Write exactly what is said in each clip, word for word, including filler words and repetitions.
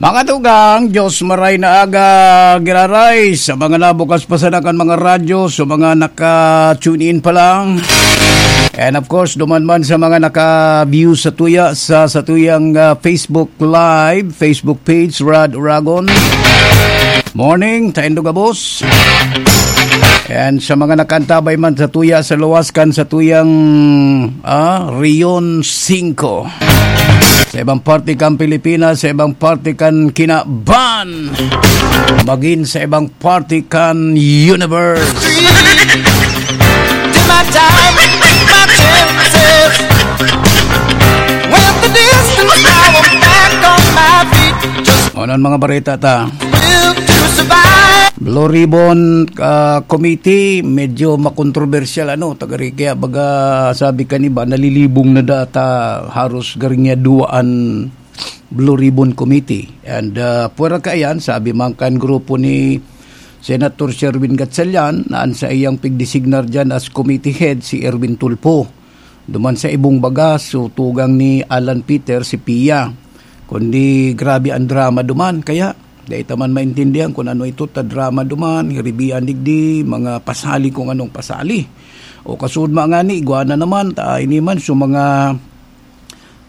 Mga tugang, Diyos maray na aga, giraray sa mga nabukas pa sana kan mga radyo, sa mga naka-tune in pa lang. And of course, duman man sa mga naka-view sa tuya, sa, sa tuyang, ah, Facebook Live, Facebook page, Rad Uragon. Morning, taindo gabos. And sa mga nakaantabay man sa tuya, sa luwas kan sa tuyang, ah, Rion singko. Sa ibang parte kan Pilipinas, sa ibang parte kan kinaban, magin sa ibang parte kan universe. Did my time, my chances. Went the distance, now I'm back on my feet. Just Ano ang mga bareta ta? Live to survive. Blue Ribbon, ah, Committee, medyo makontrobersyal, ano, tagari, kaya baga sabi kan iba, nalilibong na data, haros garing niya duwaan Blue Ribbon Committee. And, ah, pwera kaiyan, sabi man kan grupo ni Senator Sherwin Gatchalian na an saiyang pigdesignar diyan as committee head si Erwin Tulfo. Duman sa ibong baga, so tugang ni Alan Peter si Pia. Kundi grabe ang drama duman. Kaya, dai ta man maintindihan kung ano ito ta drama duman, hiribian digdi, mga pasali kung anong pasali. O kasud man ngani, igwa na naman, ta ini man, so mga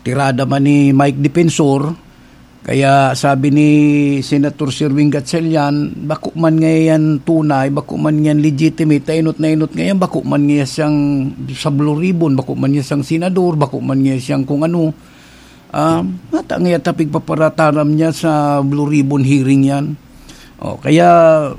tirada man ni Mike Defensor. Kaya sabi ni Senator Sherwin Gatchalian, bako man ngayan tunay, bako man ngayan legitimate, ta inot na inot ngayan, bako man ngayan siyang sa Blue Ribbon, bako man ngayan siyang senador, bako man ngayan siyang kung ano. Ah, mata ngayan ta pigpaparataram niya sa Blue Ribbon hearing yan. O, kaya,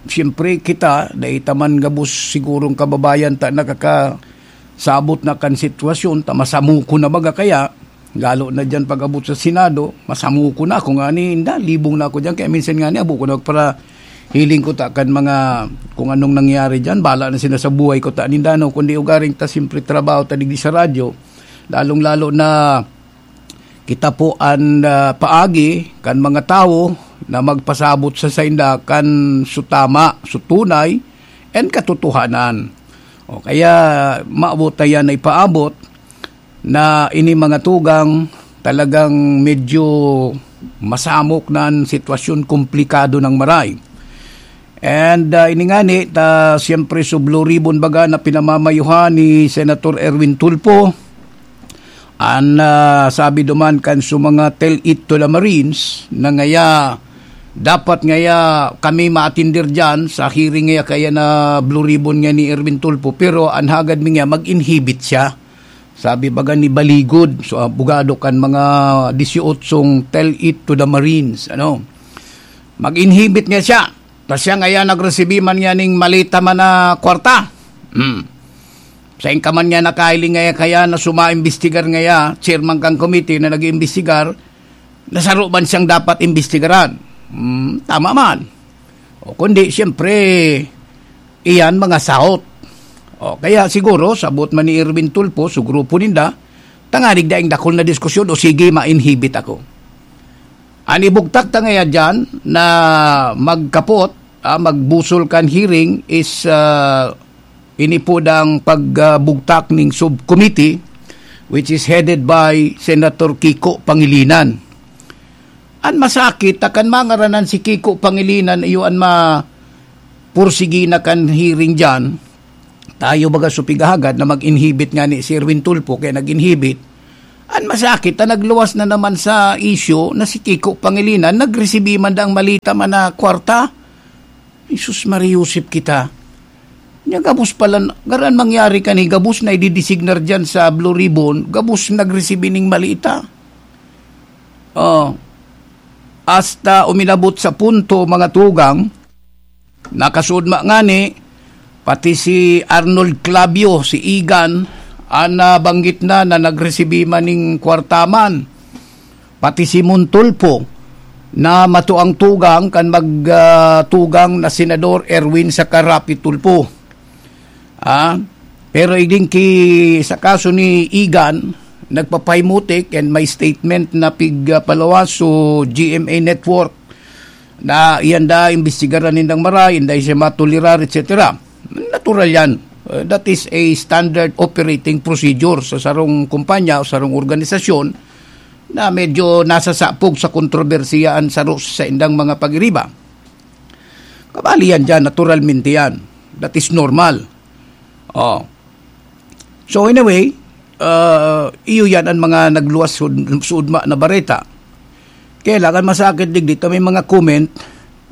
siyempre, kita, dai ta man gabos sigurong kababayan ta nakakasabot na kan sitwasyon, ta masamukon na baga kaya, lalo na diyan pag-abot sa Senado, masamukon na. Ako nga ni, inda, libong na ako diyan. Kaya minsan nga ni, abo ko na para hiling ko ta kan mga kung anong nangyari diyan. Bala na sila sa buhay ko ta ninda, no? Kundi ugaring ta, siyempre, trabaho ta digdi sa radyo. Lalong-lalo na kita po an, ah, paagi kan mga tawo na magpasabot sa sainda kan su tama, su tunay, and katotohanan. O kaya, maabot na yan na ipaabot na ini mga tugang talagang medyo masamok na an sitwasyon, komplikado nang maray. And, ah, ini ngani, ta, siyempre, su Blue Ribbon baga na pinamamayuhan ni Senator Erwin Tulfo. An, ah, sabi duman kan su mga tell it to the Marines na ngaya, dapat ngaya kami maatindir diyan sa hearing ngaya kaya na Blue Ribbon nga ni Erwin Tulfo, pero an hagad mi nga mag-inhibit siya. Sabi baga ni Baligod, so, abogado kan mga disyootsong tell it to the Marines, ano? Mag-inhibit nga siya. Ta siya ngaya nagresibi man niya ning malita man na kwarta. Hmm. Sain ka man niya nakahiling ngaya kaya na sumaimbestigar ngaya, chairman kan committee na nag-iimbestigar, na saro man siyang dapat imbestigaran. Hmm, tama man. O kundi, siyempre, iyan mga sahot. O kaya siguro, sabot man ni Erwin Tulfo, su grupo ninda, tanganing daing dakul na diskusyon o sige, ma-inhibit ako. An ibugtak ta ngaya diyan na magkapot, ah, magbusol kan hearing is, ah, ini po dang pagbugtak ning subcommittee, which is headed by Senator Kiko Pangilinan. An masakit, ta kan mangaranan si Kiko Pangilinan, iyo an ma-, pursigi na kan hearing diyan, tayo baga su pighahagad na mag-inhibit ngani si Erwin Tulfo, kaya nag-inhibit. An masakit, ta nagluwas na naman sa isyu na si Kiko Pangilinan, nagresibi man dang malita man na kwarta. Jesus Maria Josep kita. Nya gabos pala, garan mangyari kan hi gabos na ididesignar diyan sa Blue Ribbon, gabos nagresibi ning malita. Oh. Hasta uminabot sa punto, mga tugang, nakasudma ngani, pati si Arnold Clavio, si Igan, an nabanggit na, na nagresibi man ning kwarta man. Pati si Mon Tulfo, na matuang tugang kan mag, ah, tugang na Senador Erwin saka Raffy Tulfo. Ah, pero igin ki sa kaso ni Igan, nagpapahimutik and may statement na pig, ah, paluwas su G M A Network na iyan da imbestigaran nindang maray, inday siya matolerar, et cetera. Natural yan. Uh, that is a standard operating procedure sa sarong kumpanya o sarong organisasyon na medyo nasasapog sa kontrobersiya an saro sa indang mga pagiriba. Kabali yan dyan, naturalmente yan. That is normal. Oh. So anyway, uh, iyo yan ang mga nagluwas sud- suudma na bareta. Kailangan masakit digdi ta may mga comment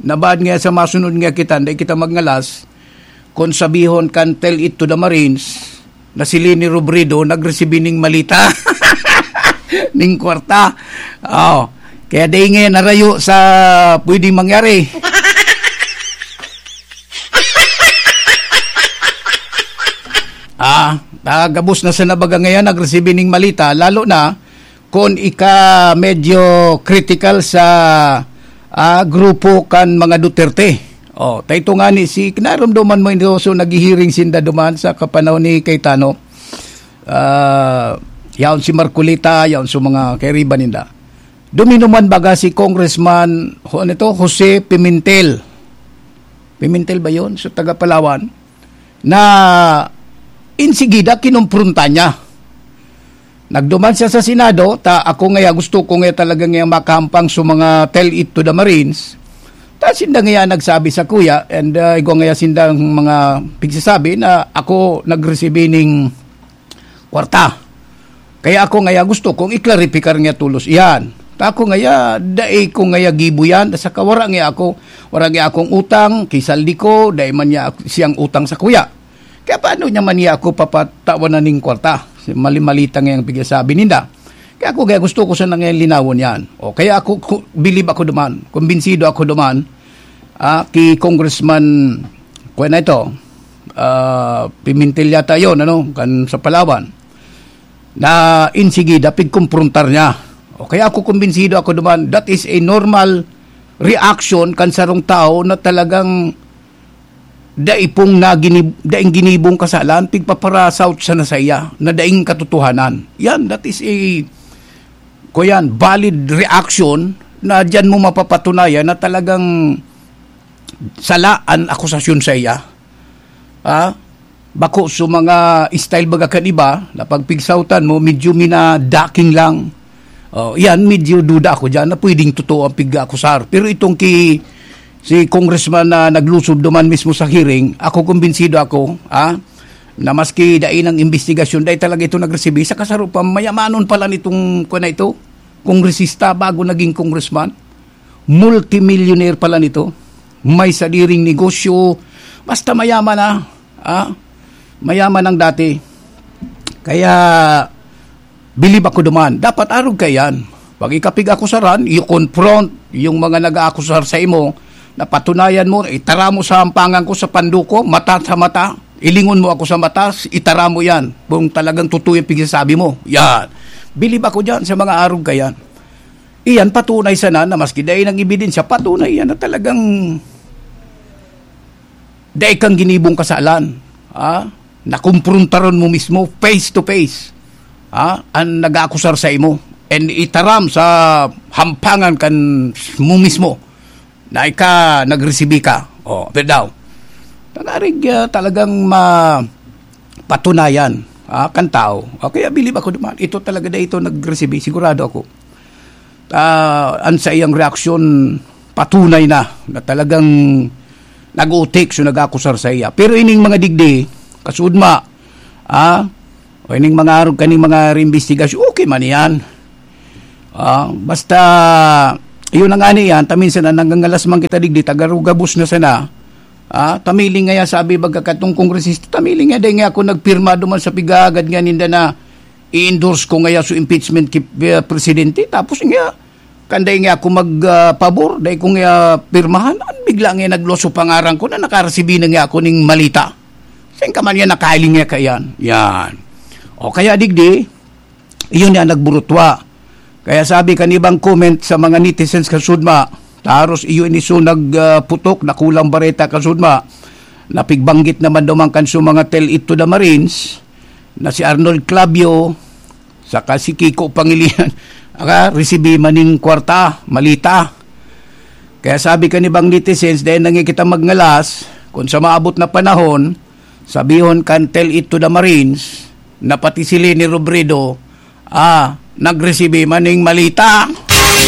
na baad nga sa masunod nga kita, dai kita magngalas, kung sabihon kan Tell It to the Marines na si Leni Robredo nagresibi ning malita, ning kwarta. Oh, kaya dai nga narayo sa pwedeng mangyari. Ah, gabos na sa nabaga ngayon, nagresibi ning malita, lalo na kung ika medyo critical sa, ah, grupo kan mga Duterte. Oh, ta ito nga ni si, kinarumduman mo, Indoso, naghihiring sinda duman sa kapanahon ni Cayetano. Ah, yaon si Marcoleta, yaon sa mga kairiba ninda. Duminuman baga si Congressman, ho, ano ito? Jose Pimentel. Pimentel ba yun? So, taga Palawan. Na insigida, kinumprunta niya. Nagduman siya sa Senado, ta ako ngaya, gusto ko ngaya talaga ngaya makahampang sa mga Tell It to the Marines. Ta sinda ngaya nagsabi sa kuya, and uh, igwa ngaya sindang mga pigsasabi na ako nagresibi ning kwarta. Kaya ako ngaya gusto kong iklaripikar nga tulos iyan. Ta ako ngaya, dai ko ngaya gibo yan, saka wara ngaya ako, wara ngaya akong utang, kisaldi ko, dai man niya ak- siyang utang sa kuya. Kaya paano niya man niya ako papatawan na ning kwarta? Mali-malita ngayang pigsasabi ninda. Kaya ako kaya gusto ko sana ngayon linawon yan. O kaya ako, ku- bilib ako duman, kumbinsido ako duman, ah, ki Congressman, kuya na ito, ah, Pimentel yata yon, ano, kan sa Palawan, na insigida, pigkumprontar niya. O kaya ako kumbinsido ako duman, that is a normal reaction kan sarong tao na talagang dai pong naginib- daing ginibong kasalan, pigpaparasaut siya na sa iya, na daing katotohanan. Yan, that is a, ko yan, valid reaction na diyan mo mapapatunayan na talagang sala an akusasyon sa iya. Ha? Bako sa mga style baga kan iba, na pagpigsautan mo, medyo minadaking lang. Oh, yan, medyo duda ako dyan na pwedeng totoo ang pig-akusar. Pero itong ki, si Congressman na naglusob duman mismo sa hearing, ako kumbinsido ako, ha? Na maski dai ng investigasyon, dai talaga ito nagresibi. Sa kasaro pa, mayamanon pala nitong, kuwan na ito, kongresista bago naging congressman. Multimillionaire pala nito. May sadiring negosyo. Basta mayaman na. Ah, mayaman ang dati. Kaya, bilib ako duman. Dapat arog ka yan. Pag ikapig-akusaran, you confront yung mga nag-aakusar sa imo, napatunayan mo, itara mo sa hampangan ko, sa panduko, mata sa mata, ilingon mo ako sa mata, itara mo yan. Kung talagang totoo yung pigsasabi mo, yan. Bilib ako dyan sa mga arog ka yan. Iyan, patunay sana na maski dai nang ebidensya, patunay yan na talagang dai kang ginibong kasalan. Ha? Nakumprontaron mo mismo, face to face. Ha? Ang nag-aakusar sa imo. And itaram sa hampangan kan mo mismo na ika nagresibi ka. O, pero daw, tangarig ah, talagang ma patunayan ah, kan tao. O kaya bilib ako naman, ito talaga na ito nagresibi, sigurado ako. Ah, ang sa iyang reaksyon, patunay na na talagang nag-utik so nag-akusar sa iya. Pero ining mga digdi, kasudma, ah, o ining mga arog kaning mga reimbestigasyon, okay man yan. Ah, basta, yun ang ani yan, taminsan na nanggangalas man kita digdi, tagarugabos na sana, ah, tamiling nga yan, sabi baga katong kongresista, tamiling nga, dahil nga ako nagpirma duman sa pigagad nga ninda na i-endorse ko ngaya so impeachment ki uh, presidente. Tapos nga, kanday nga ako magpabor, uh, dahil ko nga pirmahan, ang bigla nga nagluwas so pangaran ko na nakaresibi na nga ako ning malita. Saan ka man yan, nakailing nga ka yan. Yan. O kaya digdi, iyon yan nagburutwa. Kaya sabi kan ibang comment sa mga netizens kasudma, taros iyo ini so nagputok, nakulang bareta kasudma, napigbanggit naman duman kan so mga tell it to the Marines, na si Arnold Clavio, saka si Kiko Pangilinan, aka, resibi maning kwarta, malita. Kaya sabi kan ibang netizens, dahil nangi kita magngalas, kung sa maabot na panahon, sabihon kan tell it to the Marines, na pati si Leni Robredo, ah, nagresibi man ning malita.